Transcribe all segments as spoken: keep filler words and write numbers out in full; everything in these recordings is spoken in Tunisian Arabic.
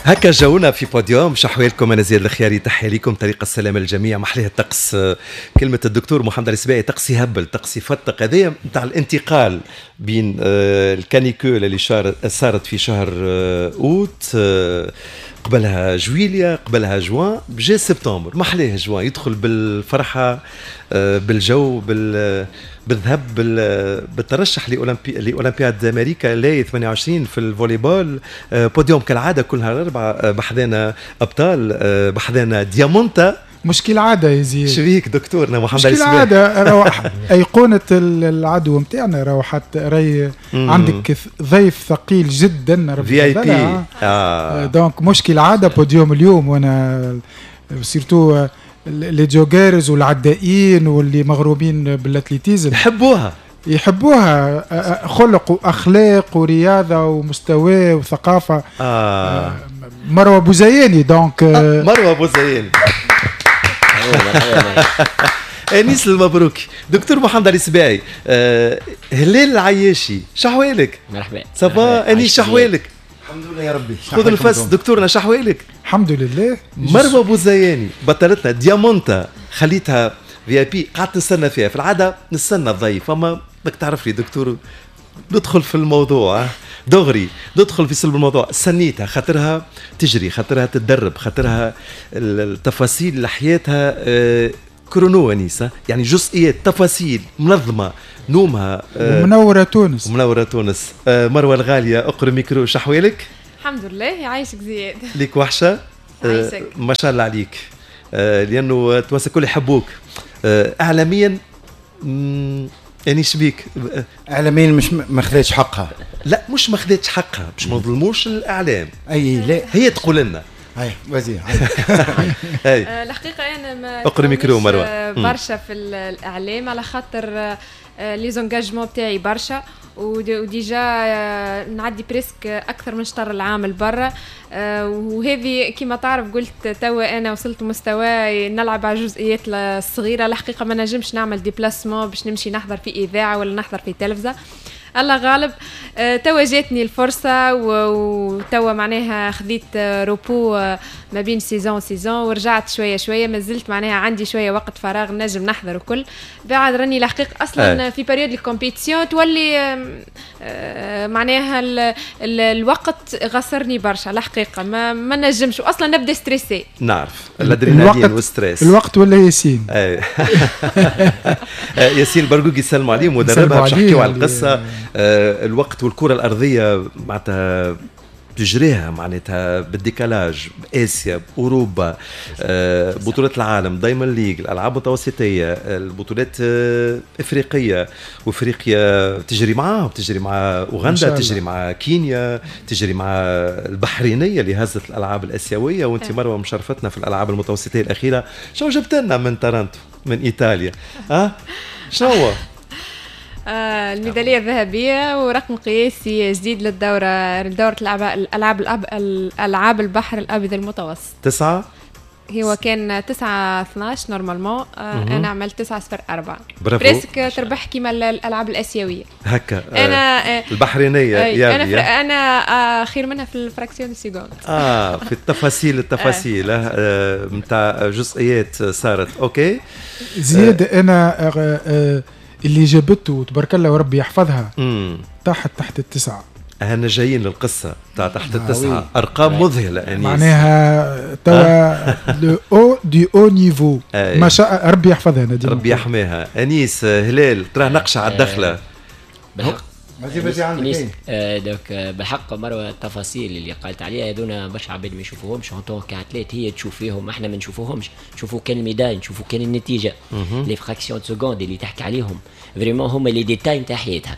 هكا جاونا في بوديوم. شحوالكم؟ انا زياد الخياري، تحية لكم، طريق السلامة للجميع. محليه الطقس، كلمة الدكتور محمد السباعي، طقس يهبل، طقس يفتق. هذايا نتاع الانتقال بين آه، ال canicule اللي صارت في شهر آه، اوت، آه، قبلها جويليا، قبلها جوان، جا سبتمبر. محليه جوان، يدخل بالفرحه، بالجو، بال بالذهب، بالترشح لاولمبي لاولمبياد امريكا لا ثمانية وعشرين في الفولي بول. بوديوم كالعادة كل نهار اربعاء، بحذانا ابطال، بحذانا ديامونتا. مش كالعادة يا زياد. شبيك دكتورنا محمد؟ مش كالعادة، راهو أيقونة العدو نتاعنا، راهو حتى راي عندك ضيف ثقيل جدا. VIP. اه donc مش كالعادة بوديوم اليوم، وانا surtout les joggeurs والعدائين واللي مغرومين بال athlétisme يحبوها. يحبوها، خلق واخلاق ورياضة ومستوى وثقافه. آه. مروه بوزياني donc. آه مروه بوزياني، انيس المبروكي، دكتور محمد علي سباعي، آه هلال العياشي، شحوالك؟ مرحبا. ça va انيس؟ شحوالك؟ الحمد لله يا ربي. خذ الفس دكتورنا، شحوالك؟ الحمد لله. مروه بوزياني بطلتنا ديامونتا، خليتها VIP، قعدت نستنى فيها. في العادة نستنى الضيف، اما بدك تعرف لي دكتور، ندخل في الموضوع دغري، ندخل في صلب الموضوع. سنيتها خاطرها تجري، خاطرها تتدرب، خاطرها التفاصيل لحياتها آه، chrono انيسه، يعني جزئيات، تفاصيل منظمه، نومها. آه، منورة تونس. منورة تونس. آه، مروه الغاليه، اقرب ميكرو، شحوالك؟ الحمد لله، يعيشك زياد. ليك وحشه. عايشك. ما شاء الله عليك، لانه التوانسة الكل يحبوك اعلاميا. يعني شبيك؟ اعلاميا مش ما خذتش حقها. لا، مش ما خذتش حقها، باش ما نظلموش الاعلام. اي لا. هي تقول لنا. اي vas-y. اي. آه، الحقيقة انا ما اقرا ميكرو مروه. آه، برشا في الاعلام على خاطر les engagements تاعي برشا، و déjà آه، نعدي presque اكثر من شطر العام لبرا، وهذه كما تعرف قلت توا انا وصلت مستوى نلعب على الجزئيات الصغيره. الحقيقة ما نجمش نعمل déplacement باش نمشي نحضر في اذاعة ولا نحضر في تلفزه، الله غالب. آه، توا جاتني الفرصة وتوا معناها خذيت repos آه، ما بين saison و saison ورجعت شوية شوية، ما زلت معناها عندي شوية وقت فراغ نجم نحضر وكل. بعد راني الحقيقة أصلا أي. في période ال compétition تولي آه، معناها ال ال الوقت غسرني برشا، الحقيقة ما, ما نجمش واصلا نبدا stressée. نعرف الادرينالين وال stress. الوقت ولا ياسين. اي، ياسين برقوق يسلموا عليه، مدربها، باش نحكيو على القصة. آه، الوقت والكره الارضية معناتها تجريها معناتها بال décalage، باسيا، باوروبا، آه، بطولات العالم، Diamond League، الالعاب المتوسطيه، البطولات آه، افريقيه، وافريقيا تجري معاهم، تجري مع اوغندا، تجري مع كينيا، تجري مع البحرينيه اللي هزت الالعاب الاسيويه. وانت مروه مشرفتنا في الالعاب المتوسطيه الاخيره. شو جبت لنا من تارانتو، من ايطاليا؟ ها شنو؟ آه، الميدالية الذهبية ورقم قياسي جديد للدورة، دورة الألعاب الألعاب البحر الأبيض المتوسط. تسعة. هو كان تسعة اثناش normalement، آه انا عملت تسعة صفر أربعة. برافو. presque تربح كيما الالعاب الاسيويه. هكا. انا آه البحرينيه. يا انا انا آه خير منها في ال fraction de seconde. اه في التفاصيل، التفاصيل نتاع آه جزئيات صارت، OK. زياد، انا آه آه اللي جابته تبارك الله وربي يحفظها تحت تحت التسعه. احنا جايين للقصة تاع تحت التسعه، ارقام مذهلة انيس. معناها توا le haut du haut niveau، ما شاء ربي يحفظها. نديم ربي يحميها. انيس، هلال، ترى نقشه على الدخله. بالحق. vas-y vas-y عندك. آه donc بالحق مروه، التفاصيل اللي قالت عليها هذونا برشا عباد ما يشوفوهمش. en tant qu'athlète هي تشوف فيهم، احنا ما نشوفوهمش، نشوفوا كان ال médaille، نشوفوا كان النتيجه. les fractions de seconde اللي تحكي عليهم vraiment هما les détails نتاع حياتها،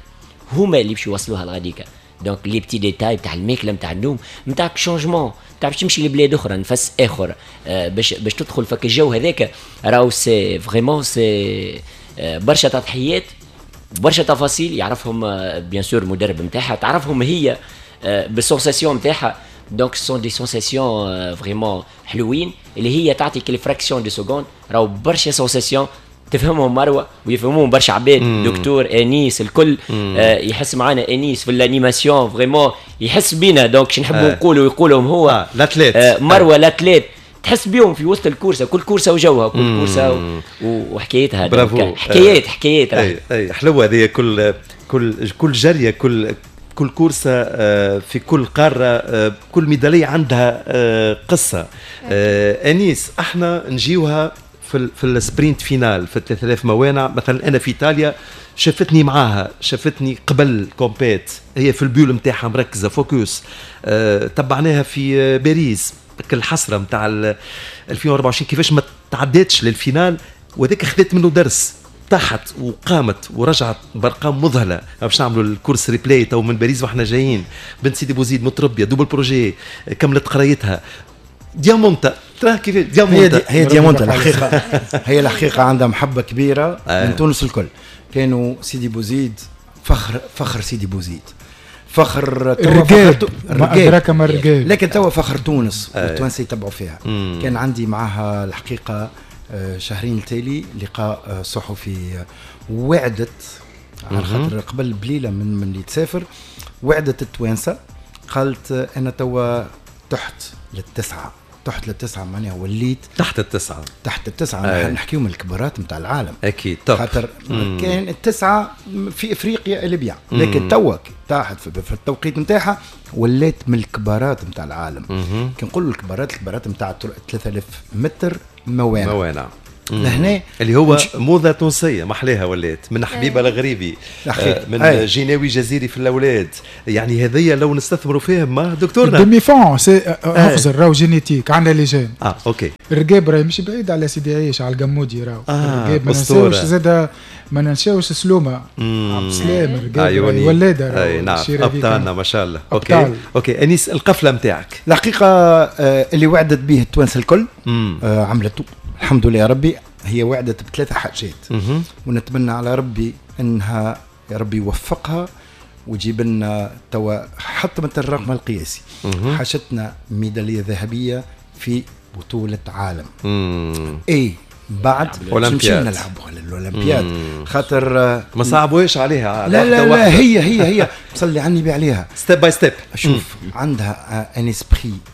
هما اللي باش يوصلوها لغاديكا. donc les petits détails تاع الماكله، نتاع النوم، نتاع changement، تاع باش تمشي لبلاد اخرى، نفس اخر، آه باش باش تدخل فك الجو هذاك، راهو c'est vraiment c'est برشا تضحيات، برشا تفاصيل يعرفهم bien sûr المدرب نتاعها، تعرفهم هي بال sensations نتاعها. donc ce sont des sensations vraiment حلوين اللي هي تعطيك les fractions de seconde، راهو برشا sensations. تفهمهم مروه ويفهموهم برشا عباد، دكتور انيس الكل آه يحس معنا انيس في l'animation vraiment يحس بينا، donc شو نحبوا آه. نقولوا يقولهم هو آه. l'athlète آه مروه آه. l'athlète تحس بيهم في وسط ال course، كل course وجوها، كل course وحكايتها. برافو، حكايات حكايات. اي اي حلوة هذه، كل كل كل جريه، كل كل course في كل قارة، كل ميدالية عندها قصة. انيس، احنا نجيوها في في ال sprint final في ثلاثة آلاف موانع مثلا. انا في ايطاليا شافتني معاها، شافتني قبل compète، هي في ال bulle نتاعها مركزه focus. أه تبعناها في باريس، الحسرة نتاع ألفين وأربعة وعشرين كيفاش ما تعدتش لل finale، وذاك خذت منه درس، طاحت وقامت ورجعت بارقام مذهلة. باش نعملوا ال course replay تو من باريس واحنا جايين. بنت سيدي بوزيد متربيه، double projet، كملت قرايتها، ديامونتا تراه كيف ديامونتا. هي, هي ديامونتا الحقيقة، هي الحقيقة عندها محبة كبيرة آه. من تونس الكل. كانوا سيدي بوزيد فخر، فخر سيدي بوزيد، فخر الرجال، ما ادراك ما الرجال، لكن توا فخر تونس والتوانسه يتبعوا فيها. مم. كان عندي معها الحقيقة شهرين التالي لقاء صحفي، وعدت على خاطر قبل بليلة من من اللي تسافر، وعدت التوانسة، قالت انا توا تحت للتسعه، تحت للتسعه معناها وليت تحت التسعة، تحت التسعة. نحكيو من الكبارات نتاع العالم اكيد، خاطر كان التسعة في افريقيا اللي بيع، لكن توا تحت في التوقيت نتاعها ولات من الكبارات نتاع العالم. كي نقولوا الكبارات، الكبارات نتاع ثلاثة آلاف متر موانع موانع لهنا اللي هو موضة تونسية محليها، ولات من حبيبه الغريبي، آه من أي. جيناوي جزيري في الاولاد، يعني هذيا لو نستثمروا فيهم ما دكتورنا demi-fond c'est اخزر راهو génétique عندنا les gènes. اه OK، الرقاب راهي مش بعيد على سيدي عيش على القمودي راهو آه الرقاب، ما ننساوش زاد، ما ننساوش سلومه عبد السلام الرقاب ولاده. اي نعم، ابطالنا ما شاء الله. OK OK انيس، القفله نتاعك الحقيقة آه اللي وعدت به التوانسة الكل آه عملته الحمد لله يا ربي. هي وعدت بثلاثة حاجات، ونتمنى على ربي انها يا ربي يوفقها ويجيب لنا توا حطمت الرقم القياسي. حاجتنا ميدالية ذهبية في بطوله عالم. اي بعد نمشي نلعبوا على الاولمبياد، خاطر ما صعبوش عليها. لا لا لا، هي هي هي صلي على النبي عليها step by step. شوف عندها un esprit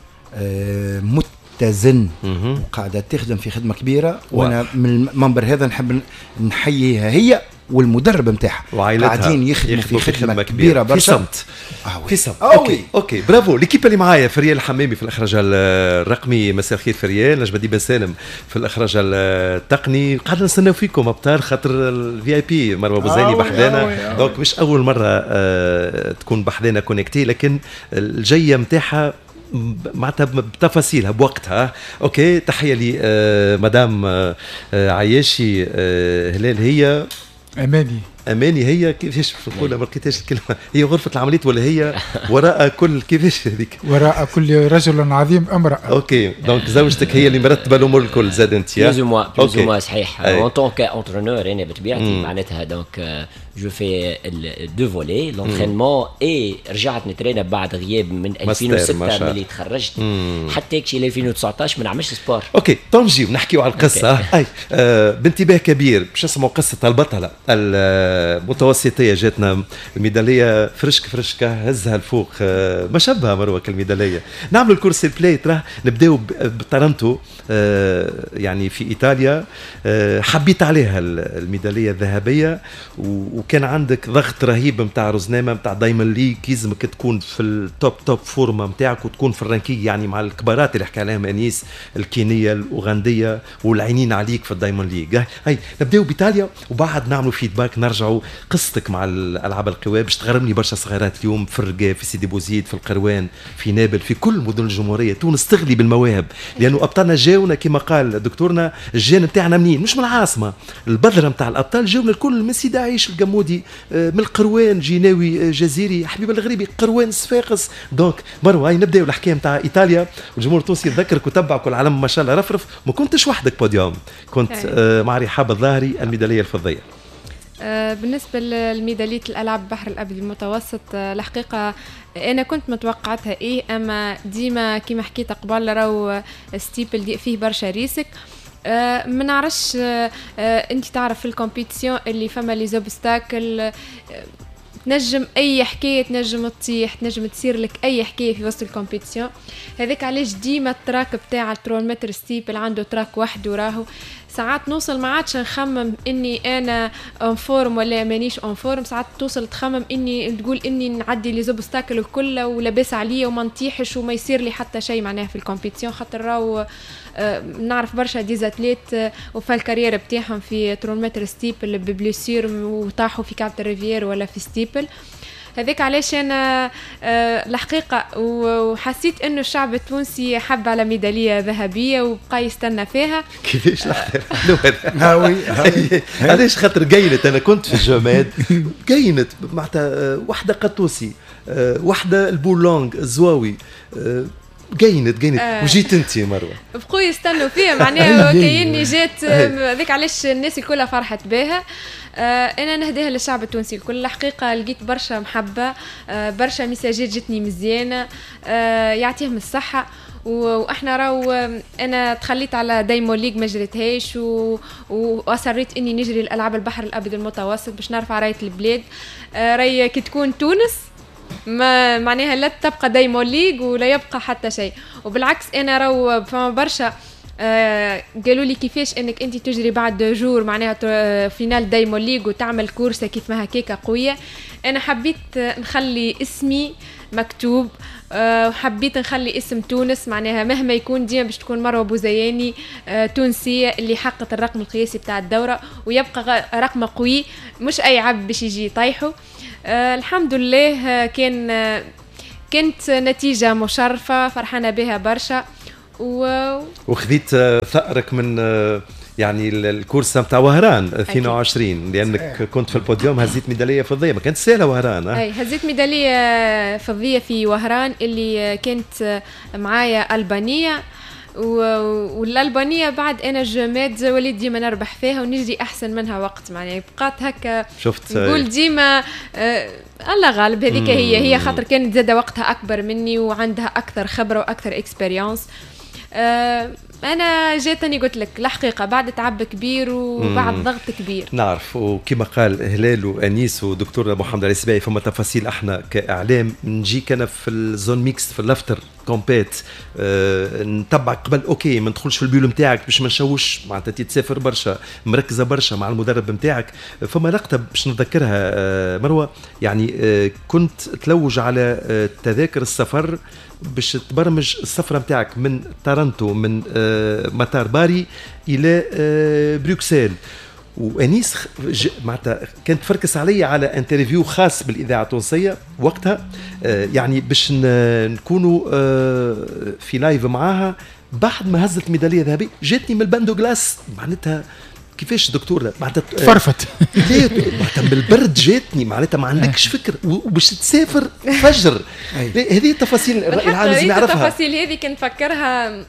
متزن وقاعدة تخدم في خدمة كبيرة، وانا من المنبر هذا نحب نحييها هي والمدرب نتاعها، قاعدين يخدموا في خدمة, خدمة كبيرة برشا في صمت. آه في صمت. OK OK bravo l'équipe اللي معايا، فريال الحمامي في الاخراج الرقمي، مساء الخير فريال، نجم الدين بن سالم في الاخراج التقني. قاعد نستناو فيكم ابطال خاطر ال VIP مروه بوزيني بحذانا، donc مش اول مرة آه تكون بحذانا connectée، لكن الجيه نتاعها معناتها بتفاصيلها بوقتها. OK تحية لي مدام عياشي هلال، هي اماني اماني هي كيفاش نقولها، ما لقيتهاش الكلمة، هي غرفة العمليات ولا هي وراء كل كيفاش هذيك، وراء كل رجل عظيم امراة. OK donc زوجتك هي اللي مرتبه الامور الكل زاد انت plus ou moins plus ou moins صحيح. en tant qu'entraîneur انا بطبيعتي معناتها donc je fais deux volets l'entraînement et رجعت نترينا بعد غياب من ألفين وستة ملي تخرجت حتى كشي ألفين وتسعطاش ما نعملش sport. OK تو نجيو نحكيو على القصة. اي آه بانتباه كبير باش نسمعوا قصة البطلة المتوسطيه، جاتنا الميداليه فرشك فرشكه هزها الفوق، آه ما شبه مروه الميداليه. نعملوا ال course replay تراه، نبداو بتارانتو آه يعني في ايطاليا، آه حبيت عليها الميداليه الذهبية، وكان عندك ضغط رهيب نتاع رزنامه نتاع Diamond League، يلزمك تكون في ال top top forme نتاعك وتكون في ال ranking يعني مع الكبارات اللي حكى عليهم انيس، الكينيه الاوغنديه والعينين عليك في ال Diamond League. هاي نبداو بايطاليا وبعد نعملوا feedback، نرجعوا قصتك مع الالعاب القوى باش تغرمني برشا صغيرات اليوم في الرقاب، في سيدي بوزيد، في القروان، في نابل، في كل مدن الجمهورية. تونس تغلي بالمواهب لانه ابطالنا جاونا كما قال دكتورنا، ال gène نتاعنا منين؟ مش من العاصمة، البذرة نتاع الابطال جاونا الكل من سيدي عيش القمودي، من القروان، جيناوي جزيري، حبيب الغريبي، قروان، صفاقس. donc مروه هاي نبداو الحكاية نتاع ايطاليا، والجمهور التونسي يتذكرك وتبعك والعالم ما شاء الله رفرف. ما كنتش وحدك بوديوم، كنت مع رحاب الظاهري الميداليه الفضيه. بالنسبة لميدالية الألعاب البحر الأبيض المتوسط، الحقيقة أنا كنت متوقعتها إيه، أما ديما كيما حكيت قبل راهو steeple فيه برشا risques. آه ما نعرفش، آه آه انت تعرف في ال compétition اللي فما les obstacles، آه تنجم اي حكاية، تنجم تطيح، تنجم تصير لك اي حكاية في وسط ال compétition. هذاك علاش ديما ال track بتاع ثلاثمية متر steeple عنده track وحده، راهو ساعات نوصل ما عادش نخمم اني انا en forme ولا مانيش en forme، ساعات توصل تخمم اني تقول اني نعدي les obstacles الكل ولاباس عليا وما نطيحش وما يصير لي حتى شيء معناها في ال compétition، خاطر راهو آه، نعرف برشا des athlètes آه، وفى ال carrière بتاعهم في ثلاثمية متر steeple ب blessure وطاحوا في كعبة ال rivière ولا في steeple. هذاك علاش انا آه، الحقيقة وحسيت انه الشعب التونسي حب على ميدالية ذهبية وبقى يستنى فيها. كيفاش لحظة علاش؟ خاطر قيلت انا كنت في الجماد، قينت معناتها وحده قطوسي، وحده البولونغ الزواوي، قينت قينت آه. وجيت انت مروه. بقوا يستنوا فيها معناها كايني جات، هذاك علاش الناس الكل فرحت بها. آه انا نهديها للشعب التونسي الكل، الحقيقة لقيت برشا محبة، آه برشا ميساجات جتني مزيانه، آه يعطيهم الصحة. واحنا راهو انا تخليت على Diamond League ما جريتهاش و... واصريت اني نجري الالعاب البحر الابيض المتوسط باش نرفع رايه البلاد. آه راي كي تكون تونس ما معناها لا تبقى Diamond League ولا يبقى حتى شيء. وبالعكس انا راهو فما برشا آه قالوا لي كيفاش انك انت تجري بعد deux jours معناها finale Diamond League وتعمل course كيف ما هكاكا قوية. انا حبيت نخلي اسمي مكتوب، أه وحبيت نخلي اسم تونس معناها مهما يكون ديما باش تكون مروه بوزياني أه تونسية اللي حققت الرقم القياسي بتاع الدورة ويبقى رقم قوي مش اي عبد باش يجي يطيحه. أه الحمد لله كان كانت نتيجة مشرفة فرحانة بها برشا. و... وخذيت ثأرك من يعني ال course نتاع وهران اثنين وعشرين لانك كنت في البوديوم، هزيت ميدالية فضية، ما كانت سهلة وهران. اي هزيت ميدالية فضية في وهران اللي كانت معايا البانيه، والالبانيه بعد انا Jeux Med وليت ديما نربح فيها ونجري احسن منها وقت معناها بقات هكا شفت نقول ديما آه الله غالب هذيك هي هي خاطر كانت زاده وقتها اكبر مني وعندها اكثر خبره واكثر expérience. آه انا جاتني قلت لك الحقيقة بعد تعب كبير وبعد ضغط كبير. نعرف، وكما قال هلال وانيس ودكتور محمد علي السباعي فما تفاصيل احنا كاعلام نجيك انا في ال zone mixte في ال after compét أه نتبعك قبل OK ما ندخلش في ال bulle نتاعك باش ما نشوش معناتها تسافر برشا مركزه برشا مع المدرب نتاعك. فما لقطة باش نتذكرها أه مروه، يعني أه كنت تلوج على أه تذاكر السفر باش تبرمج السفرة نتاعك من تورنتو من أه مطار باري الى أه بروكسل، وانيس معناتها كانت تفركس علي على interview خاص بالاذاعه التونسية وقتها، آه يعني باش نكونوا آه في live معاها بعد ما هزت ميدالية ذهبية. جاتني من ال bain de glace معناتها كيفاش دكتور معناتها فرفت ليه معناتها من البرد جاتني معناتها ما عندكش فكر وباش تسافر فجر. هذه التفاصيل الراي العام لازم يعرفها. التفاصيل هذه كنت نفكرها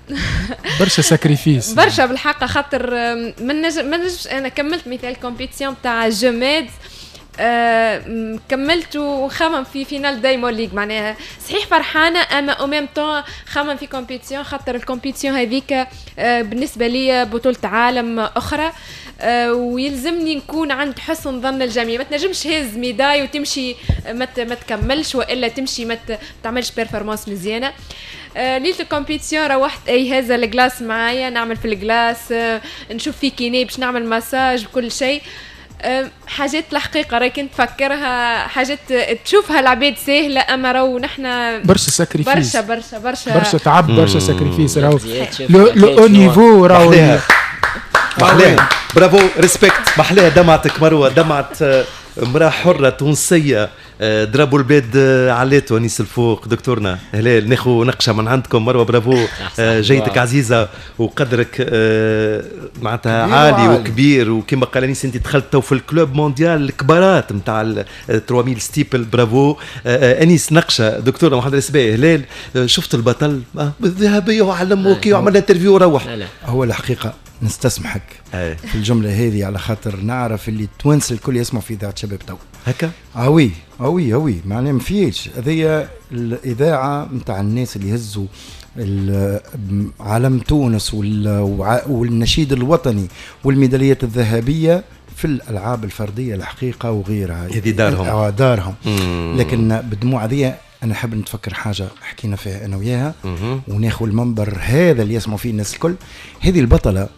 برشا sacrifices برشا بالحق، خاطر ما نجم ما نجمش انا كملت مثال compétition تاع Jeux Med آه كملت وخمم في finale Diamond League معناها صحيح فرحانة اما au même temps خمم في compétition خاطر ال compétition هذيك آه بالنسبة لي بطوله عالم اخرى آه ويلزمني نكون عند حسن ظن الجميع. ما تنجمش هز médaille وتمشي ما ما تكملش والا تمشي ما تعملش performance مزيانه. آه ليلة ال compétition روحت اي هذا ال glace معايا نعمل في ال glace آه نشوف في kiné باش نعمل مساج وكل شيء. حاجات الحقيقة راهي كنت تفكرها حاجات تشوفها العباد ساهله اما راهو نحن برشا sacrifices برشا برشا برشا برشا تعب برشا sacrifices راهو le haut niveau راهو محلاها. bravo respect محلاها دمعتك مروه، دمعت امراة حره تونسية drapeau البلاد علاتو انيس الفوق. دكتورنا هلال ناخذ نقشه من عندكم مروه، برافو جيتك عزيزه وقدرك معناتها عالي وكبير، وكما قال انيس انت دخلت تو في ال club mondial الكبارات نتاع ثلاثمية steeple. برافو انيس نقشه. دكتورنا محمد السباعي هلال شفت البطل الذهبية وعلم وكي وعمل interview وروح. هو الحقيقة نستسمحك أي. في الجملة هذه على خاطر نعرف اللي التوانسة الكل يسمعوا في اذاعة شباب تو. هكا؟ اه oui اه oui اه oui معناها ما فيش. هذه الاذاعة نتاع الناس اللي هزوا علم تونس والنشيد الوطني والميداليات الذهبية في الالعاب الفردية الحقيقة وغيرها. هذه دارهم. دارهم. لكن بالدموع هذه انا حاب نتفكر حاجة حكينا فيها انا وياها، وناخذ المنبر هذا اللي يسمعوا فيه الناس الكل. هذه البطلة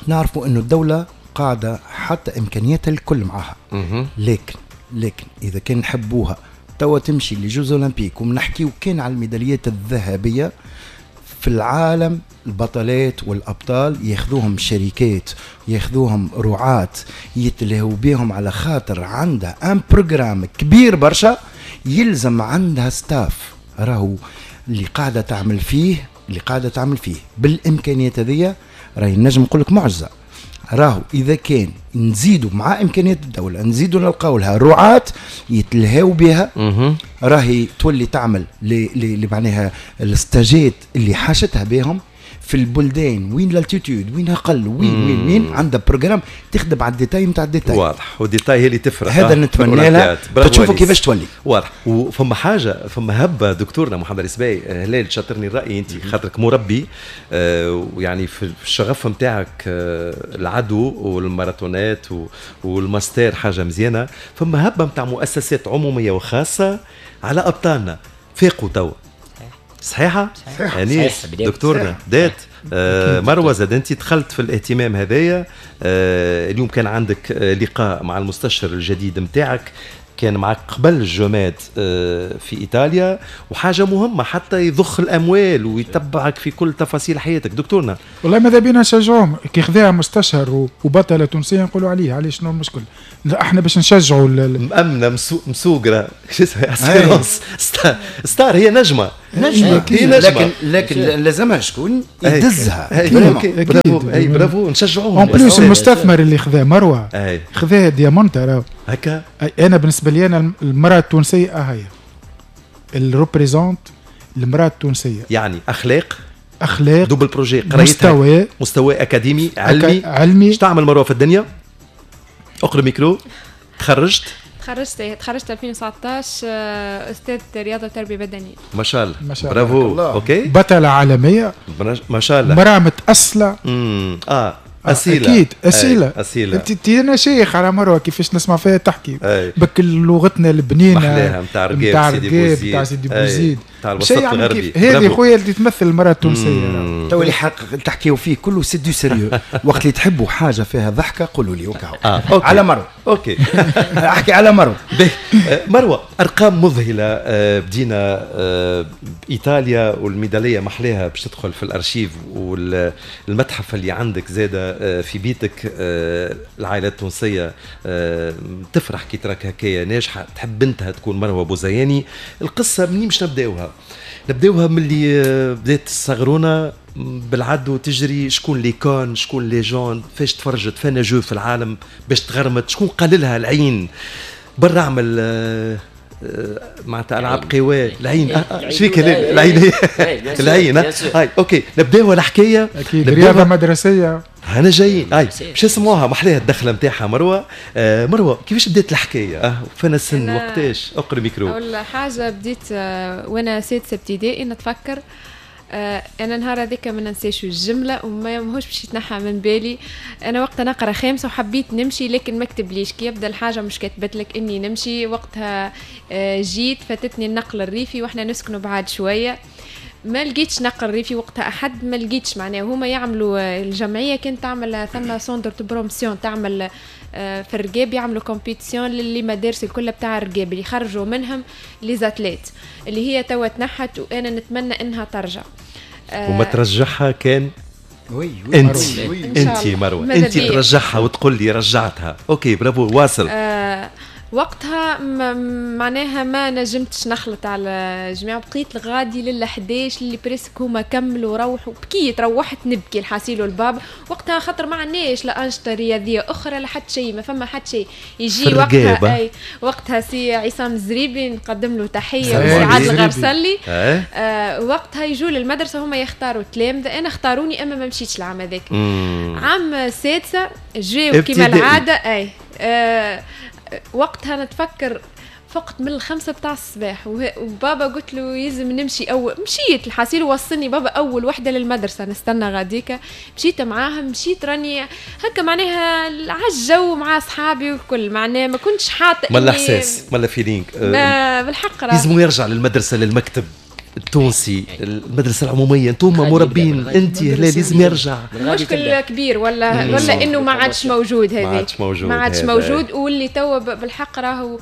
نعرفوا انه الدولة قاعدة حتى امكانياتها الكل معها، لكن لكن اذا كان نحبوها توا تمشي les Jeux Olympiques، ومنحكيو كان على الميداليات الذهبية في العالم، البطلات والابطال ياخذوهم شركات، ياخذوهم رعاة، يتلهوا بهم على خاطر عندها un programme كبير برشا، يلزم عندها staff. راهو اللي قاعدة تعمل فيه، اللي قاعدة تعمل فيه بالامكانيات هذيا راهي نجم نقول لك معجزه. راهو اذا كان نزيدوا مع امكانيات الدولة، نزيدوا نلقاو لها رعاة يتلهاو بها، راهي تولي تعمل اللي معناها الستاجات اللي حاشتها بهم في البلدان وين l'altitude وين اقل وين وين وين عندها programme تخدم على ال détail نتاع ال détail. واضح، وال détail هي اللي تفرق. هذا نتمنى لها تشوفوا كيفاش تولي. واضح. وفما حاجة، فما هبه دكتورنا محمد السباي، هلال شاطرني الراي انت خاطرك مربي، آه ويعني في الشغف نتاعك آه العدو والماراثونات والماستر حاجة مزيانه. فما هبه نتاع مؤسسات عموميه وخاصة على ابطالنا، فاقوا توا. صحيحه؟ صحيحه انيس دكتورنا دات آه مروه زاد انت دخلت في الاهتمام هذايا. آه اليوم كان عندك آه لقاء مع المستشار الجديد نتاعك، كان معك قبل الجماد آه في ايطاليا، وحاجه مهمة حتى يضخ الاموال ويتبعك في كل تفاصيل حياتك دكتورنا. والله ماذا بينا نشجعوهم كي خذاها مستشهر وبطله تونسية نقولوا عليه، علاش شنو المشكل؟ احنا باش نشجعوا مأمنه مسوقره شو اسمها star. star هي نجمه نجمه هي نجمه، لكن لكن لازمها شكون يدزها. برافو، اي برافو، نشجعوهم. en plus المستثمر اللي خذا مروه خذا diamant راهو هكا. انا بالنسبة لي انا المراة التونسية هي ال représente المراة التونسية، يعني اخلاق اخلاق double projet، قرايتها مستوى مستوى اكاديمي علمي علمي. اش تعمل مروه في الدنيا؟ اقرا ميكرو. تخرجت تخرجت تخرجت ألفين وتسعطاش استاذ رياضة وتربيه بدنية. ما شاء الله، ما شاء الله، برافو. OK، بطلة عالمية ما شاء الله، مراة متاصله. امم اه أصيلة. أكيد أصيلة. أصيلة. أنت أنا شيخ على مروة كيفاش نسمع فيها تحكي بك لغتنا البنينة محلاها نتاع رقاب سيدي بوزيد، نتاع سيدي بوزيد، نتاع الوسط الغربي. هذه خويا اللي تمثل المرأة التونسية. تو اللي حق تحكيو فيه كله c'est du sérieux. وقت اللي تحبوا حاجة فيها ضحكة قولوا لي وكاو. آه. على مروة. OK أحكي على مروة. مروة أرقام مذهلة. بدينا بإيطاليا والميدالية محلاها باش تدخل في الأرشيف والمتحف اللي عندك زادة في بيتك. العائلة التونسية تفرح كي تراك هكايا ناجحة، تحب بنتها تكون مروة بوزياني. القصة منين باش نبداوها؟ نبداوها من اللي بدات الصغرونة بالعدو تجري، شكون les icônes، شكون les gens، فاش تفرجت، فانا جو في العالم باش تغرمت، شكون قال لها العين برا اعمل معناتها العاب قوى العين. شبيك العين؟ العين. هاي OK نبداو الحكاية. اكيد رياضة مدرسيه انا جايين. هاي باش نسمعوها محلاها الدخلة نتاعها مروه. آه مروه كيفاش بدات الحكاية؟ اه فانا السن وقتاش؟ اقرا ميكرو. اول حاجة بديت آه وانا سادسة ابتدائي نتفكر. آه انا نهار هذاك ما ننساش الجملة وما ماهوش باش يتنحى من بالي. انا وقتها نقرا خامسة وحبيت نمشي لكن ما كتبليش، كي يبدا الحاجة مش كتبت لك اني نمشي. وقتها آه جيت فاتتني النقل الريفي واحنا نسكنوا بعد شوية، ما لقيتش نقل ريفي وقتها احد، ما لقيتش معناه هما يعملوا الجمعية كانت تعمل ثم centre de promotion تعمل في الرقاب، يعملوا compétition للي مدارس الكل بتاع الرقاب اللي يخرجوا منهم les athlètes اللي هي توا تنحت، وانا نتمنى انها ترجع. وما ترجعها كان oui oui انت انت مروه انت ترجعها وتقول لي رجعتها. OK bravo واصل. آه وقتها معناها ما نجمتش نخلط على جماعة، بقيت الغادي لل احداش اللي presque هما كملوا روحوا، بكيت روحت نبكي الحاسيل والباب وقتها، خاطر ما عندناش لا انشطة رياضية اخرى لا حتى شيء، ما فما حتى شيء يجي وقتها. اي وقتها سي عصام الزريبي نقدم له تحية وسي عادل الغرسلي. آه وقتها يجوا للمدرسة هما يختاروا التلامذه، انا اختاروني اما ما مشيتش العام هذاك. عام سادسة جاو كيما العادة. اي آه وقتها نتفكر فقت من الخمسة بتاع الصباح، وبابا قلت له يلزم نمشي. أول مشيت الحاسيل وصلني بابا أول وحدة للمدرسة نستنى غاديكا، مشيت معاها، مشيت راني هكا معناها عالجو مع أصحابي والكل، معناها ما كنتش حاطة ملا إحساس ملا feeling. ما بالحق لازم يرجع للمدرسة للمكتب التونسي، المدرسة العمومية، انتم مربين، انت لا لازم يرجع. مشكل كبير ولا ولا انه ما عادش موجود، هذه ما عادش موجود، ما عادش موجود. واللي توا بالحق راهو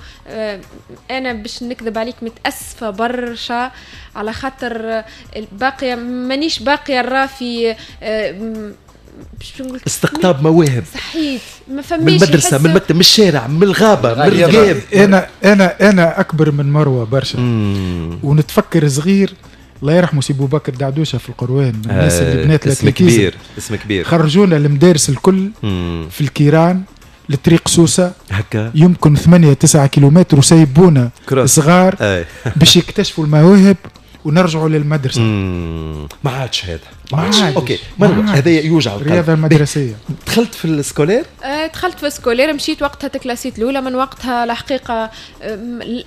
انا باش نكذب عليك متاسفه برشا، على خاطر باقية مانيش باقية نرى في استقطاب مواهب. صحيت ما فماش من المدرسة، من المكتب، من الشارع، من الغابة، من الغاب. انا انا انا اكبر من مروه برشا، ونتفكر صغير الله يرحمه سي بو بكر دعدوشه في القروان، من الناس اللي بنات اسم كبير، اسم كبير. خرجونا المدارس الكل مم. في الكيران لطريق سوسة هكا يمكن ثمانية تسعة كيلومتر، وسيبونا صغار باش يكتشفوا المواهب ونرجعوا للمدرسة. ما عادش هذا، ما عادش. OK مروه، هذا يوجع القلب. الرياضة المدرسية. دخلت في ال scolaire؟ أه دخلت في ال scolaire، مشيت وقتها تكلاسيت الاولى. من وقتها الحقيقة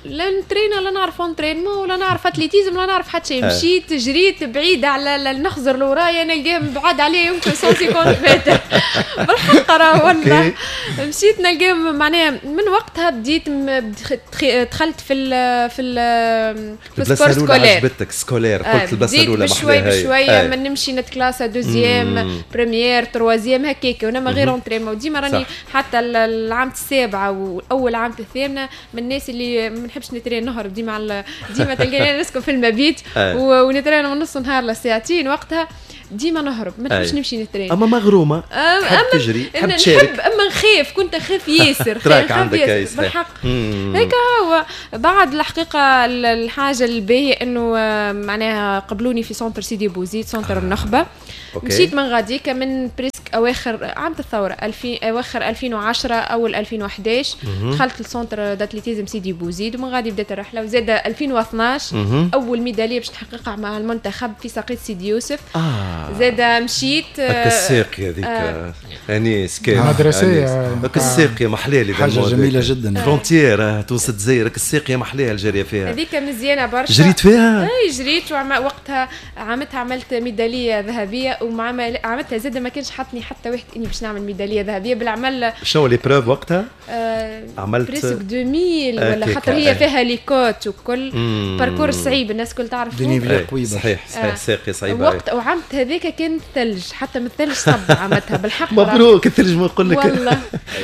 لا نترينا، لا نعرف entraînement، ولا نعرف athlétisme، لا نعرف حتى شيء. مشيت جريت بعيد على نخزر لورايا نلقاهم بعاد عليه يمكن مية وخمسين متر بالحق راه والله. مشيت نلقاهم معناها من وقتها بديت دخلت في ال في ال في ال sport scolaire. عجبتك scolaire؟ قلت البلاصة الاولى بشوي بشوية من نمشي نتكلاسا deuxième première troisième هكاك، وانا ما غير entraînement ديما راني حتى العام السابعة واول عام الثامنة من الناس اللي ما نحبش نترين، نهرب ديما على ديما تلقاني نسكن في المبيت ونترين من نص نهار لساعتين، وقتها ديما نهرب ما نحبش نمشي نترين. اما مغرومه، تحب تجري، تحب تشارك. نحب اما نخاف، كنت نخاف ياسر، trac عندك بالحق هيك هو. بعد الحقيقة الحاجة الباهيه انه معناها قبلوني في centre سيدي بوزيد، centre النخبة. مشيت من غاديكا من presque اواخر عام الثورة ألفين، اواخر ألفين وعشرة اول ألفين وأحد عشر دخلت ل centre d'athlétisme سيدي بوزيد، ومن غادي بدات الرحلة. وزاد ألفين واثناش اول ميدالية باش نحققها مع المنتخب في ساقية سيدي يوسف. آه. زاد مشيت هكا الساقيه هذيك آه. انيس كان مدرسيه هكا الساقيه محلاه، حاجة جميلة جدا. frontière تونس الجزائر، هكا الساقيه محلاها الجارية فيها، هذيك مزيانه برشا. جريت فيها؟ اي جريت، وقتها عامتها عملت ميدالية ذهبية، ومع عملتها زاد ما كانش حطني حتى واحد اني باش نعمل ميدالية ذهبية بالعمل. شنو l'épreuve وقتها؟ آه عملت presque ألفين ولا خاطر هي فيها les côtes وكل parcours صعيب الناس الكل تعرف. صحيح صحيح، ساقيه صعيبة. وقت وعمت هذاك كان ثلج، حتى من الثلج صب عمتها بالحق. مبروك الثلج، ما نقول لك والله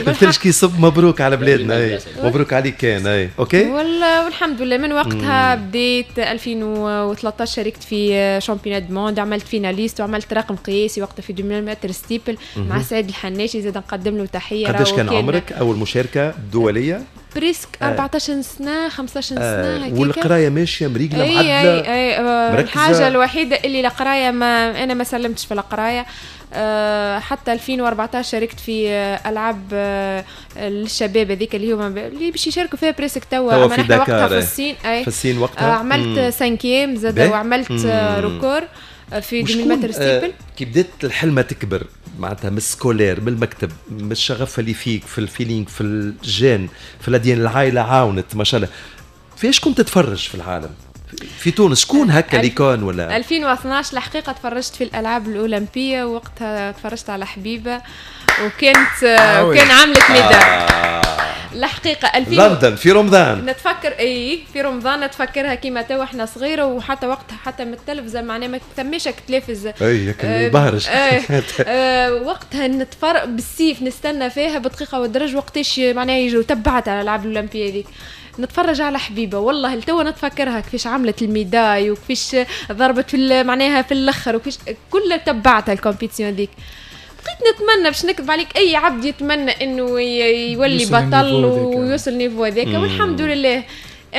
الثلج كي يصب مبروك على بلادنا. اي مبروك عليك كان. اي OK والله والحمد لله. من وقتها بديت ألفين وثلاثة عشر شاركت في championnat du monde، عملت finaliste وعملت رقم قياسي وقتها في ألفين متر steeple مع سعيد الحناشي، زاد نقدم له تحية. قداش كان عمرك اول مشاركة دولية؟ presque أربعطاش سنة خمسطاش سنة آه. والقرايه ماشية مريقله معدله. اي اي آه. الحاجة الوحيدة اللي القراية ما انا ما سلمتش في القراية. أه حتى ألفين وأربعطاش شاركت في العاب أه للشباب هذيك اللي هما اللي باش يشاركوا فيها presque توا، في نحن وقتها في الصين. اي في الصين وقتها آه عملت cinquième زاد وعملت record في ألفين متر steeple. كي بدات الحلمة تكبر معناتها من ال scolaire، من المكتب، من الشغف اللي فيك، في ال feeling، في ال gène، في ال ADN، العائلة عاونت ما شاء الله. فيش كنت تتفرج في العالم في تونس؟ شكون هكا اللي كان ولا؟ ألفين واثناش الحقيقة تفرجت في الالعاب الاولمبية، وقتها تفرجت على حبيبه وكانت آه وكان عملت médaille. آه. الحقيقة ألفين لندن في رمضان نتفكر، اي في رمضان نتفكرها كيما توا احنا صغيرة، وحتى وقتها حتى من التلفزة معناها ما ثماش تلفز اي البهرج. آه آه وقتها نتفرق بالسيف نستنى فيها بدقيقة والدرج وقتاش معناها يجوا. تبعت على الالعاب الاولمبية هذيك نتفرج على حبيبه، والله لتوا نتفكرها كيفاش عملت ال médaille وكيفاش ضربت في معناها في الاخر وكيفاش كل تبعتها ال compétition هذيك. بقيت نتمنى باش نكذب عليك اي عبد يتمنى انه يولي بطل ويوصل niveau هذاك، والحمد لله.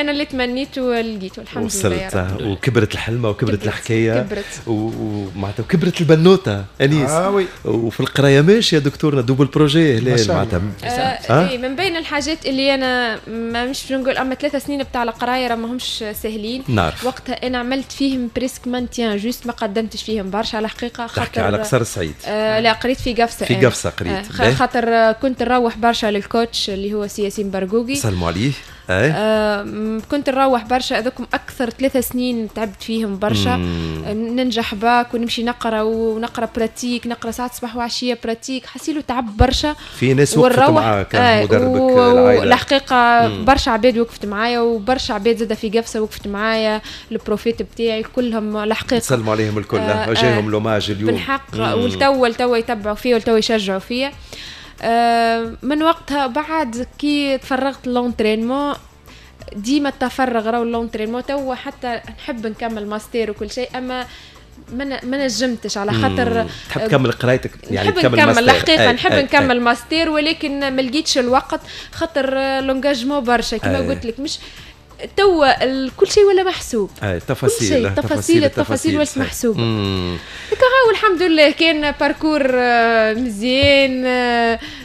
انا اللي تمنيته لقيته الحمد لله. وصلت وكبرت الحلمة وكبرت الحكاية كبرت ومعناتها وكبرت البنوته انيس. آه oui. وفي القراية ماشي يا دكتورنا double projet هلال معناتها. آه إيه من بين الحاجات اللي انا ما مش نقول اما ثلاثة سنين بتاع القراية راه ماهمش سهلين. نعرف. وقتها انا عملت فيهم presque maintien juste، ما قدمتش فيهم برشا على الحقيقة. خاطر تحكي على قصر السعيد. آه لا قريت في قفصه. في قفصه قريت. آه خاطر كنت نروح برشا لل coach اللي هو سي ياسين برقوقي. سلموا عليه. أي. آه كنت نروح برشا، هذوكم اكثر ثلاثة سنين تعبت فيهم برشا. ننجح باك ونمشي نقرا ونقرا pratique، نقرا ساعات صباح وعشية pratique، حسيلو تعب برشا. في ناس وقفت معاك، آه مدربك العائلة الحقيقة برشا عباد وقفت معايا، وبرشا عباد زاده في قفصه وقفت معايا، ال profs بتاعي كلهم الحقيقة سلموا عليهم الكل. آه جاهم l'hommage اليوم بالحق، والتو التو يتبعوا فيا والتو يشجعوا فيا. آه من وقتها بعد كي تفرغت l'entraînement، ديما التفرغ راهو l'entraînement توا حتى نحب نكمل ماستير وكل شيء، اما ما ما نجمتش على خاطر تحب تكمل قرايتك يعني نحب نكمل الحقيقة نحب أي نكمل أي. ماستير، ولكن ما لقيتش الوقت خاطر l'engagement برشا كما قلت لك. مش توا كل شيء ولا محسوب. اي تفاصيل التفاصيل التفاصيل ولات محسوبة. هكا والحمد لله كان parcours مزيان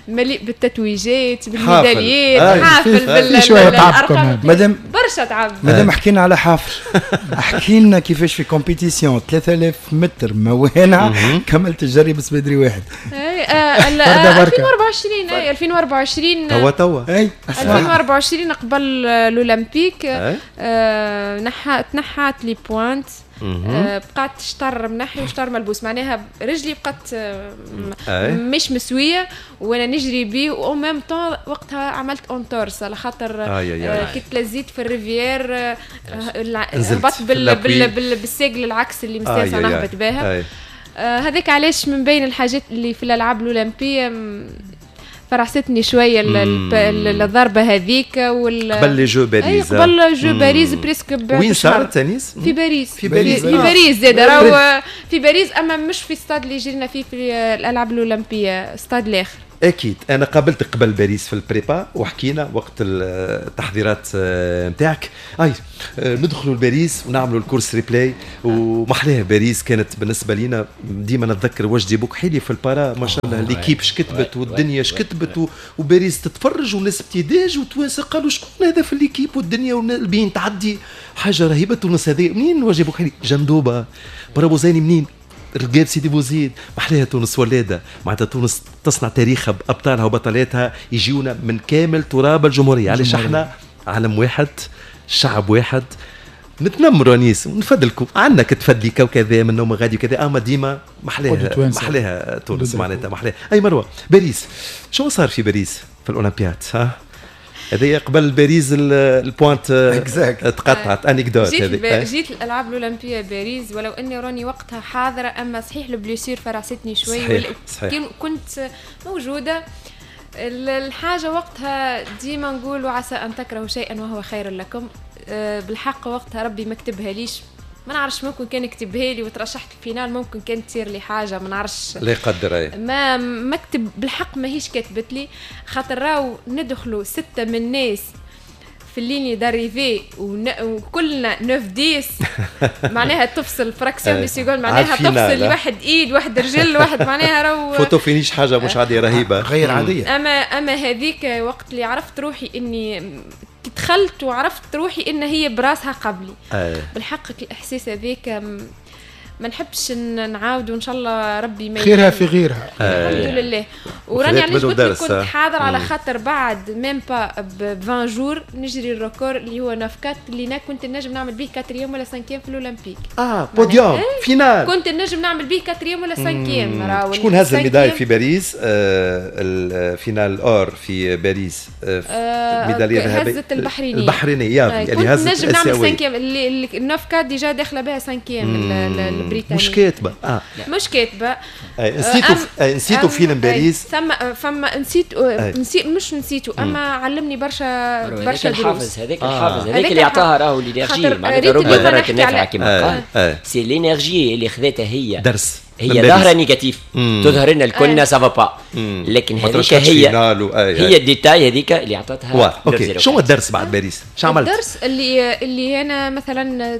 مليء بالتتويجات بالميداليات، حافل بالارقام. مادام برشا تعب. مادام حكينا على حافل، احكي لنا كيفاش في compétition ثلاثة آلاف متر موانع كملت الجري بسبادري واحد. اي ألفين وأربعة وعشرين. اي ألفين وأربعة وعشرين توا توا اي ألفين وأربعة وعشرين قبل الاولمبيك. آه نحا تنحات les pointes، آه بقات شطر منحي وشطر ملبوس، معناها رجلي بقات آه مش مسويه وانا نجري بيه. و même temps وقتها عملت entorse على خاطر آه كي تلزيت في ال rivière هبطت بال بال بال بالساق العكس اللي مستانسه نهبط بها. هذاك علاش من بين الحاجات اللي في الالعاب الاولمبية فرحستني شوية الضربة هذيك. وال قبل les Jeux باريس. قبل Jeux باريس presque. وين صارت تنس؟ في باريس. في باريس في باريس زاد راهو في باريس، اما مش في ستاد اللي جرينا فيه في الالعاب الاولمبية، ستاد الاخر. اكيد انا قابلتك قبل باريس في ال prépa وحكينا وقت التحضيرات نتاعك. اي ندخلوا لباريس ونعملوا ال course replay ومحلاها باريس كانت بالنسبة لينا. ديما نتذكر وجدي بوكحيلي في ال para ما شاء الله l'équipe اش كتبت والدنيا اش كتبت، وباريس تتفرج والناس بتداج وتوانسه قالوا شكون هذا في l'équipe والدنيا والبين تعدي حاجة رهيبة. تونس هذه منين وجدي بوكحيلي؟ جندوبه برابو زيني منين؟ رقاب سيدي بوزيد. محلاها تونس ولاده، معناتها تونس تصنع تاريخها بابطالها وبطلاتها يجيونا من كامل تراب الجمهورية. علاش احنا علم واحد شعب واحد نتنمروا انيس ونفدلكم عندنا كتفدليكا وكذا من نوم غادي وكذا، اما ديما محلاها محلاها تونس معناتها محلاها. اي مروه باريس شو صار في باريس في الاولمبياد؟ ها هذه قبل باريس ال pointe تقطعت anecdote. هذه جيت الالعاب الاولمبية باريس ولو اني راني وقتها حاضره، اما صحيح ال blessure فرستني شوي. صحيح. صحيح. كنت موجودة الحاجة وقتها. ديما نقول وعسى ان تكرهوا شيئا وهو خير لكم. بالحق وقتها ربي ما كتبها ليش، ما نعرفش ممكن كان يكتبها لي وترشحت ال finale ممكن كانت تصير لي حاجة ما نعرفش لا يقدر. اي ما مكتب بالحق ماهيش كاتبت لي، خاطر راهو ندخلوا ستة من الناس في ال ligne d'arrivée وكلنا neuf dix معناها تفصل fraction de seconde، معناها تفصل واحد ايد واحد رجل واحد معناها راهو photo finish حاجة مش عادية رهيبة غير عادية. اما اما هذيك وقت اللي عرفت روحي اني دخلت وعرفت روحي ان هي براسها قبلي. أي. بالحق الاحساس هذاك ما نحبش نعاود، وان شاء الله ربي ما خيرها في غيرها. الحمد لله. وراني علاش قلت لك كنت حاضر على خاطر بعد même pas ب عشرين jours نجري ال record اللي هو neuf quatre اللي انا كنت نجم نعمل به quatrième ولا cinquième في الاولمبيك. اه بوديوم finale كنت نجم نعمل به quatrième ولا cinquième. شكون هز ال médaille في باريس؟ آه ال finale or في باريس آه ميدالية ذهبية هزت البحرينيه. البحرينيه آه اللي هزت. كنت نجم نعمل cinquième اللي neuf quatre déjà داخله بها cinquième البريطانية. مش كاتبه. اه مش كاتبه. اي نسيتو نسيتو فيلم باريس. ثم فما نسيت نسيت مش نسيتو اما علمني برشا برشا دروس. الحافز هذاك الحافز هذاك اللي عطاها راهو l'énergie معناتها رب ضارة النافعة كما قال. c'est l'énergie اللي خذتها هي درس هي ظاهره négatif تظهر لنا الكلنا ça va pas، لكن هذيك هي هي ال détail هذيك اللي عطتها. OK، شو الدرس بعد باريس؟ شو عملت؟ الدرس اللي اللي انا مثلا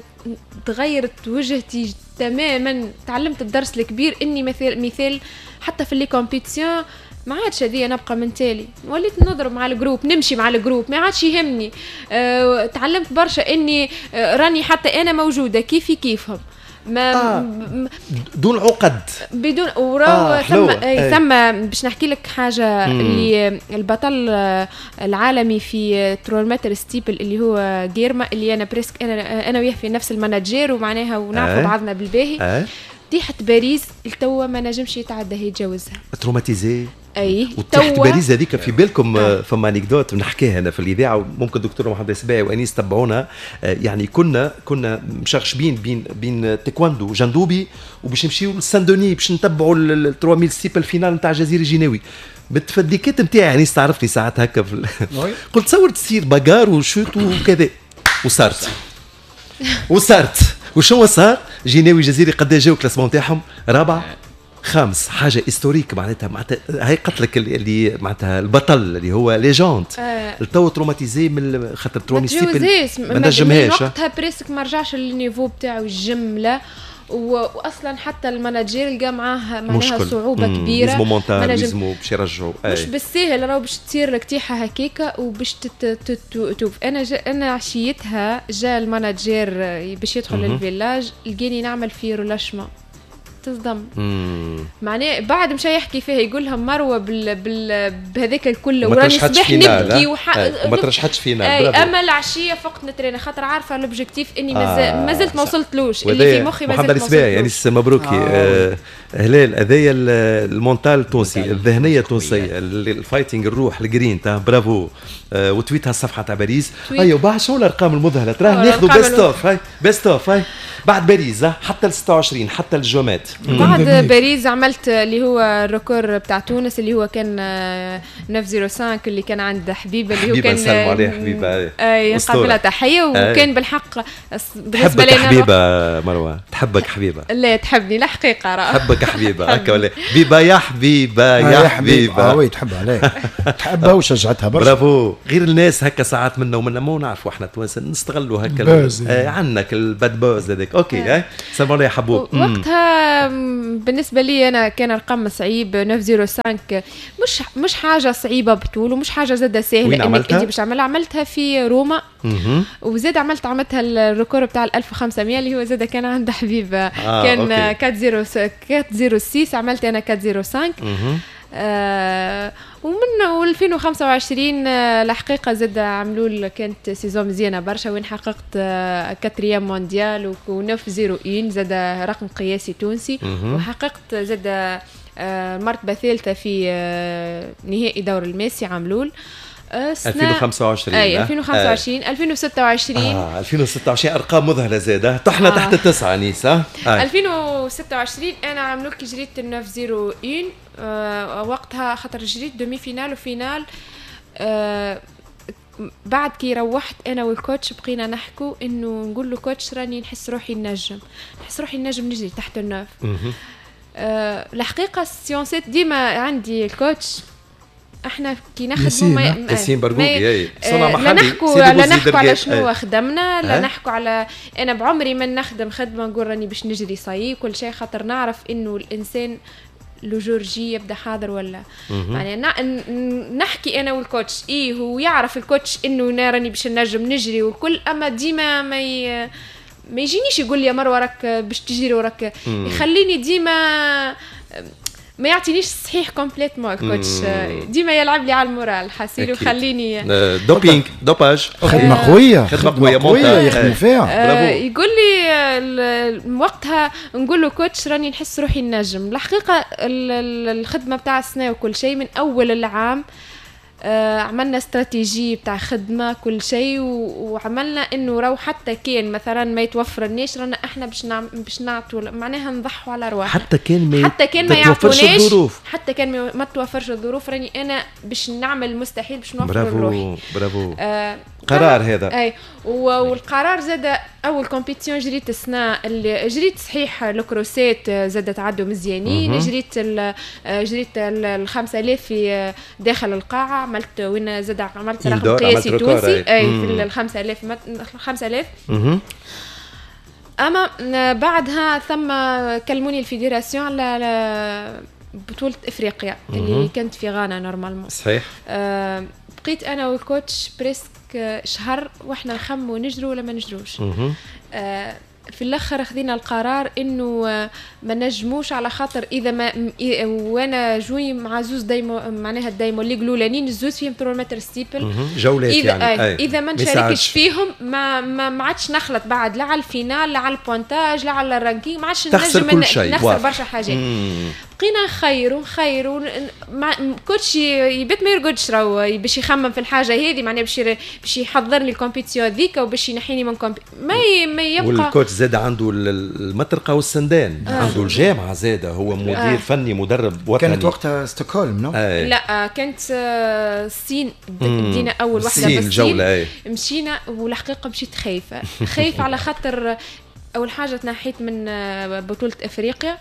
تغيرت وجهتي تماما، تعلمت الدرس الكبير اني مثال مثال حتى في les compétitions ما عادش هذه نبقى من تالي، وليت نضرب مع ال groupe، نمشي مع ال groupe، ما عادش يهمني. أه، تعلمت برشا اني أه راني حتى انا موجودة كيفي كيفهم، ما آه. دون عقد، بدون وراو آه. ثم اي ثم باش نحكي لك حاجة. مم. اللي البطل العالمي في trois mètres steeple اللي هو جيرما، اللي انا presque انا انا وياه في نفس ال manager ومعناها ونعرفوا بعضنا بالباهي. طيحت باريس التوا ما نجمش يتعدى يتجاوزها، traumatisé. اي وطيحت باريس هذيك في بالكم آه. فما anecdote نحكيها انا في الاذاعة، وممكن الدكتور محمد السباعي وانيس تبعونا. يعني كنا كنا مشغشبين بين بين تايكواندو جندوبي وباش نمشيو لسان دوني باش نتبعوا ال ثلاثة آلاف steeple finale نتاع جزيرة جيناوي. بالتفديكات نتاعي انيس تعرفني ساعات هكا في قلت تصور تصير bagarre و chute وكذا، وصارت وصارت وشو صار؟ جيناوي جزيري قد جاو classement تاعهم رابع خامس، حاجة historique معناتها. معناتها هاي قتلك اللي معناتها البطل اللي هو légende التو traumatisé من خاطر traumatisé ما نجمهاش وقتها presque ما رجعش لل niveau بتاعو الجملة، واصلا حتى ال manager لقى معاه معناها صعوبة مم. كبيرة، لازمو mental، لازمو باش يرجعوا، مش بالساهل راهو باش تصير لك تيحه هكاكا وباش توف. انا جا انا عشيتها جا ال manager باش يدخل لل village، لقاني نعمل في relâchement، تصدم. معناه بعد مشى يحكي فيها يقول لهم مروه بال... بال... بهذاك الكل وراني صباح نبكي وح... وما ترشحتش finale. اي اما العشية فقت نترينا خاطر عارفه l'objectif اني آه ما زلت ما وصلتلوش اللي في مخي، ما زلت ما وصلتلوش. يعني مبروكي آه. آه هلال، هذايا ال mental التونسي، الذهنية التونسية، ال fighting، الروح، الجرينتا، برافو. آه وتويتها الصفحة تاع باريس. ايوه بعد شنو الارقام المذهلة تراه ناخذوا best of، هاي best of، هاي بعد باريس حتى ال ستة وعشرين حتى الجومات. بعد باريس عملت اللي هو ال record بتاع تونس اللي هو كان تسعمية وخمسة اللي كان عند حبيبه، اللي هو كان نسلموا عليه حبيبه، اي نقابلها تحية. وكان بالحق بالنسبة لنا حبيبه مروه تحبك حبيبه، لا تحبني الحقيقة راه تحبك حبيبه هكا ولا حبيبه يا حبيبه يا حبيبه. اه oui تحبها عليك، تحبها وشجعتها برشا، برافو. غير الناس هكا ساعات منا ومنا ما نعرفوا احنا التوانسة نستغلوا هكا عندك ال bad buzz هذاك. OK هاي سلام عليك يا حبوب. وقتها بالنسبة لي انا كان الرقم صعيب تسعمية وخمسة، مش مش حاجة صعيبة بطول ومش حاجة زاده سهلة انك انت باش تعملها. عملتها في روما وزاد عملت عملتها ال record بتاع ألف وخمسمية اللي هو زاد كان عند حبيبه آه كان أربعمية وستة، عملت انا أربعمية وخمسة. آه ومن ألفين وخمسة وعشرين الحقيقة زاد عملوا كانت saison مزيانه برشا وين حققت quatrième mondial و تسعمية وواحد زاد رقم قياسي تونسي، وحققت زاد مرتبه ثالثة في نهائي دور الماسي عملول ألفين وخمسة وعشرين. اي ألفين وخمسة وعشرين ألفين وستة وعشرين. اه ألفين وستة وعشرين ارقام مذهلة زاده، طحنا آه. تحت التسعة نيسا. آه. ألفين وستة وعشرين انا عملوا كي جريت تسعمية وواحد آه وقتها خاطر جريت demi-finale و finale. آه بعد كي روحت انا وال coach بقينا نحكوا انه نقول له coach راني نحس روحي نجم، نحس روحي نجم نجري تحت ال neuf. آه الحقيقة ال séance ات ديما عندي ال coach احنا كي نخدموا ما ياسين برقوقي اي صنع محلي، لا نحكوا لا نحكوا على شنو خدمنا، لا نحكوا على انا بعمري ما نخدم خدمة نقول راني باش نجري صاي كل شيء، خاطر نعرف انه الانسان le jour J يبدا حاضر ولا يعني نحكي انا وال coach ايه هو يعرف ال coach انه راني باش نجم نجري والكل، اما ديما ما ي... ما يجينيش يقول لي يا مروه راك باش تجري وراك، يخليني ديما ما يعطينيش صحيح complètement ال coach، ديما يلعب لي على ال moral حاسيل وخليني doping dopage خدمة قوية، خدمة قوية يخدموا فيها. يقول لي وقتها نقول له coach راني نحس روحي نجم. الحقيقة الخدمة بتاع السنة وكل شيء من اول العام آه عملنا استراتيجية بتاع خدمة كل شيء، وعملنا انه راهو حتى كان مثلا ما يتوفرناش رانا احنا باش نعم باش نعطوا معناها نضحوا على رواحنا، حتى كان ما حتى كان ما يعطوناش، حتى كان ما توفرش الظروف راني انا باش نعمل المستحيل باش نوفر لروحي. برافو برافو. آه قرار هذا. اي والقرار زاد اول compétition جريت السنة اللي جريت صحيح الكروسات زادت عدوا مزيانين، جريت جريت ال خمسة آلاف في داخل القاعة، عملت وين زاد عملت رقم قياسي تونسي اي في ال خمسة آلاف خمسة آلاف. اما بعدها ثم كلموني ال fédération على بطوله افريقيا اللي كانت في غانا normalement. صحيح. أه بقيت انا وال coach presque شهر واحنا نخمو نجرو ولا ما نجروش. آه في الاخر خذينا القرار انه ما نجموش، على خاطر اذا ما وانا جوي مع زوز Diamond، معناها ال Diamond League الاولانيين الزوز فيهم ثلاثمية متر steeple جولات إذا يعني آه اذا ما نشاركش فيهم ما ما, ما عادش نخلط بعد لا على ال finale لا على ال pointage لا على ال ranking، ما عادش نجم نخسر برشا حاجات. بقينا نخيروا نخيروا مع coach يبات ما يرقدش راهو باش يخمم في الحاجة هذه، معناها باش باش يحضر لي ال compétition هذيك وباش ينحيني من compé ما ي... ما يبقى. وال coach زاد عنده المطرقة والسندان، آه. عنده الجامعة زاد، هو مدير آه. فني مدرب وطني. كانت وقتها ستوكهولم non؟ آه. لا كانت الصين، بدينا اول واحدة بالصين الجولة. آه. مشينا والحقيقة مشيت خايفة خايفة على خاطر اول حاجة تنحيت من بطوله افريقيا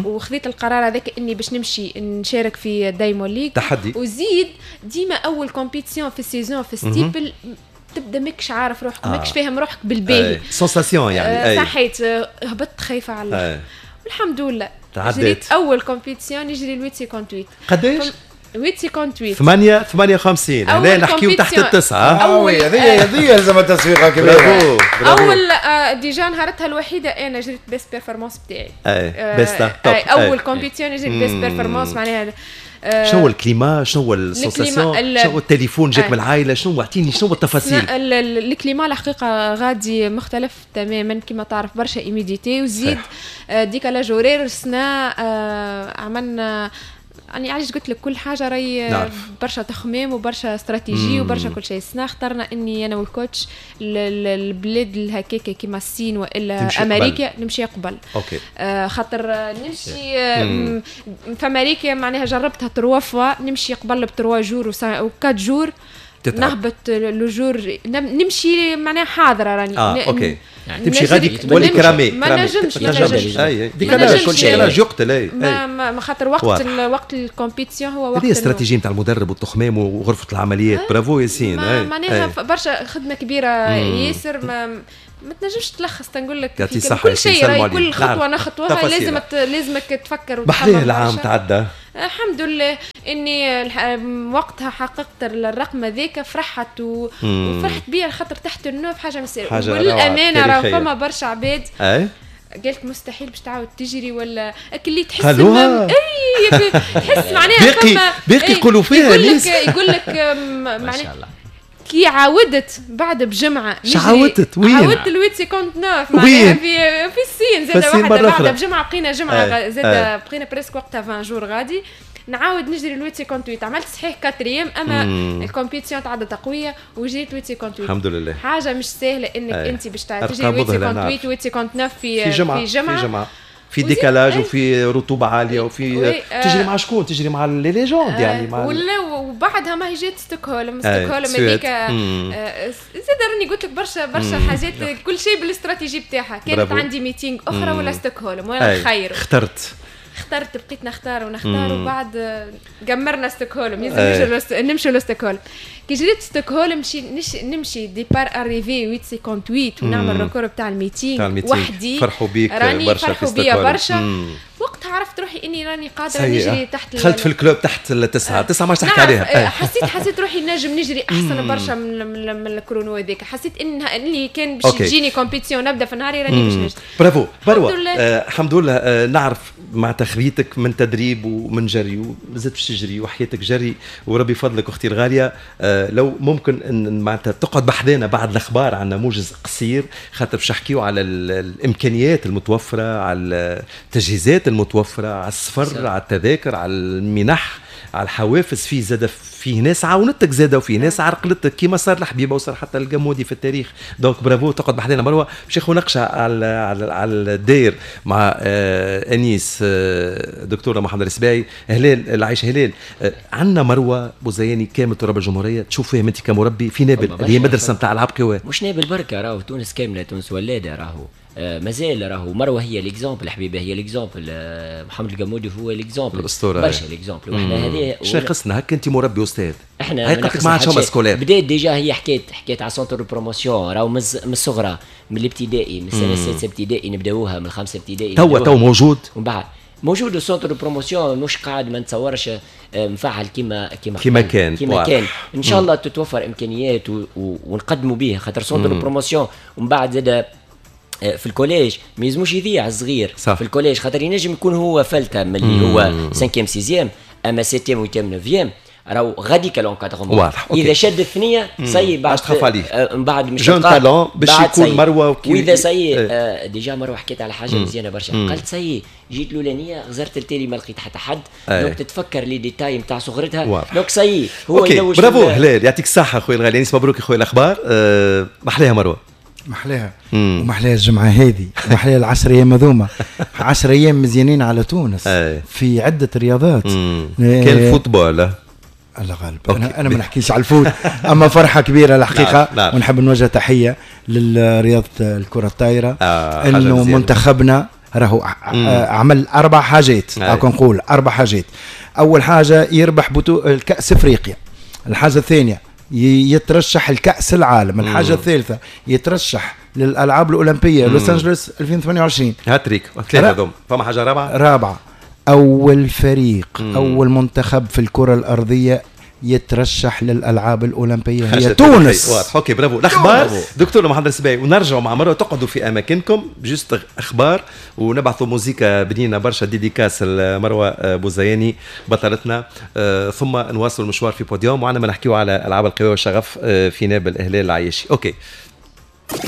وخذيت القرار هذاك اني باش نمشي نشارك في Diamond League تحدي، وزيد ديما اول compétition في ال saison في steeple تبدا ماكش عارف روحك، ماكش فاهم روحك بالباهي، sensation يعني. آه صحيت، هبطت خايفة على الاخر والحمد لله جريت اول compétition نجري ال huit cinquante-huit. قداش؟ ثمانية cinquante-huit ثمانية ثمانية وخمسين. هنا نحكيو تحت التسعة. أول هذه هذه لازم تسويقها كبيرة. أول déjà نهارتها الوحيدة أنا جريت best performance بتاعي. أي best top. أول compétition جريت best performance معناها. شنو هو ال climat، شنو هو ال sensation، شنو هو التليفون جاك من العائلة، شنو اعطيني شنو التفاصيل؟ ال climat الحقيقة غادي مختلف تماما كما تعرف، برشا humidité وزيد décalage horaire. السنة عملنا يعني علاش قلت لك كل حاجة راهي برشا تخميم وبرشا استراتيجي وبرشا كل شيء. السنة اخترنا اني انا وال coach البلاد الهكاكه كيما الصين والا امريكا قبل. نمشي قبل. okay. آه خاطر نمشي آه في امريكا معناها جربتها trois fois، نمشي قبل ب trois jours و quatre jours نهبط le jour نمشي معناها حاضره راني. اه okay يعني تمشي غادي تولي cramé. ما نجمش ما نجمش اي décalage كل شيء يقتل. اي ما خاطر وقت وقت ال compétition هو وقت هذه استراتيجية نتاع المدرب والتخمام وغرفه العمليات. برافو ياسين. معناها برشا خدمة كبيرة ياسر، ما ما تنجمش تلخص تنقول لك كل شيء راهي كل خطوة نخطوها لازم لازمك تفكر وتخمم. بحليه العام تعدى الحمد لله اني وقتها حققت الرقم هذاك، فرحت و... وفرحت بيه خاطر تحت ال neuf حاجة مسير. والامانة راه فما برشا عباد اي قالت مستحيل باش تعاود تجري ولا اللي تحس ما... اي تحس معناها باقي باقي يقولوا فيها يقول لك يقول لك معناها كي عاودت بعد بجمعه عاودت وين؟ عاودت ال huit cinquante-neuf معناها في في الصين زاد واحدة بعد بجمعه بقينا جمعه زاد بقينا presque وقتها عشرين jours غادي نعاود نجري ال huit cinquante-huit. عملت صحيح quatrième اما ال compétition تعدت قوية وجريت huit cinquante-huit. الحمد لله. حاجة مش سهلة انك انت باش تجري huit cinquante-huit huit cinquante-neuf في في جمعه في جمعه, في جمعة. في décalage وفي رطوبة عالية وفي تجري مع شكون؟ تجري مع les légendes يعني مع ولا. وبعدها ما هي جات ستوكهولم. ستوكهولم هذيك زاد راني قلت لك برشا برشا حاجات كل شيء بالاستراتيجي بتاعها. كانت عندي meeting اخرى ولا ستوكهولم وانا خير اخترت اخترت بقيت نختار ونختار وبعد قمرنا ستوكهولم لازم نمشوا لستوكهولم. كي جريت ستوكهولم نمشي نمشي départ arrivée ثمانية cinquante-huit ونعمل record بتاع ال meeting وحدي. فرحوا بيك برشا فرحوا بيا برشا. وقتها عرفت روحي اني راني قادرة نجري تحت. دخلت في ال club تحت التسعة تسعة ما تحكي عليها. حسيت حسيت روحي نجم نجري احسن برشا من من, من ال chrono هذاك. حسيت انها اني كان باش تجيني compétition نبدا في نهاري راني باش نجري. برافو مروه. الحمد لله. آه نعرف مع تخبيتك من تدريب ومن جري وزدت باش تجري وحياتك جري وربي يفضلك اختي الغالية. آه لو ممكن ان معناتها تقعد بحذانا بعد الاخبار عندنا موجز قصير خاطر باش نحكيو على الامكانيات المتوفرة، على التجهيزات المتوفرة، على السفر، على التذاكر، على المنح على الحوافز، فيه زاد فيه ناس عاونتك زاد وفيه ناس عرقلتك كيما صار لحبيبه وصار حتى القمودي في التاريخ. donc bravo، تقعد بحذنا مروه باش ناخذ نقشه على على, على الداير مع آه انيس، آه دكتورة محمد السباعي، هلال العيش. هلال، آه عندنا مروه بوزياني كامل تراب الجمهورية، تشوف فيهم انت كمربي في نابل اللي هي مدرسه نتاع العاب قوى. مش نابل بركه، راهو تونس كامله، تونس ولاده راهو. آه مازال راهو مروه هي l'exemple، حبيبه هي l'exemple، آه محمد القمودي هو l'exemple، الاسطوره، برشا l'exemple. واحنا هذه شنو ناقصنا هكا؟ انت مربي استاذ، احنا هاي قالت لك ما عادش scolaire. بدات déjà هي حكيت حكيت على centre promotion، راهو من الصغرى، من الابتدائي، من السنة السادسة ابتدائي نبداوها، من الخامسة ابتدائي. توا تو موجود ومن بعد موجود ال centre promotion، مش قاعد ما نتصورش آه، مفعل كيما كيما كيما كان. كيما كان. ان شاء الله تتوفر امكانيات و... و... ونقدموا به، خاطر centre promotion ومن بعد زاد آه، في ال collège ما يلزموش يضيع الصغير. صح. في ال collège خاطر ينجم يكون هو فلتة من اللي هو cinquième sixième، اما septième huitième neuvième راهو غاديك l'encadrement. واضح. اذا شد الثنية ça y est بعد تخاف عليه. آه، من بعد مش jeune talent باش يكون مروه. وكي واذا ça y est آه déjà مروه حكيت على حاجة مزيانه برشا، قالت ça y est جيت الاولانية غزرت التالي ما لقيت حتى حد، donc تتفكر les détails نتاع صغرتها، donc ça y est هو يلوج. برافو هلال، يعطيك الصحة خويا الغالي. انيس، مبروك خويا الاخبار. أه محلاها مروه. محلاها ومحلاها الجمعة هذه ومحلاها العشر ايام هذوما، عشر ايام مزيانين على تونس في عده رياضات. كان ال football. الله غالب، انا انا ما نحكيش على ال foot، اما فرحه كبيرة الحقيقه. نعم. نعم. ونحب نوجه تحية للرياضة الكره الطايره، آه انه منتخبنا راهو عمل اربع حاجات، هاك نقول اربع حاجات. اول حاجة يربح بطو الكاس افريقيا، الحاجة الثانية يترشح الكاس العالم، الحاجة الثالثة يترشح للالعاب الاولمبية لوس انجلوس ألفين وثمانية وعشرين. هاتريك، ثلاثة هذوم. فما حاجة رابعه؟ رابعه، اول فريق مم. اول منتخب في الكره الارضية يترشح للالعاب الاولمبية هي تونس. واضح، OK، bravo. الاخبار دكتور محمد السباعي ونرجعوا مع مروه، تقعدوا في اماكنكم، juste اخبار ونبعثوا موزيكا بنينه برشا، dédicace مروه بوزياني بطلتنا، آه ثم نواصل المشوار في بوديوم وعندما نحكيو على العاب القوى والشغف آه في نابل، هلال العياشي. OK.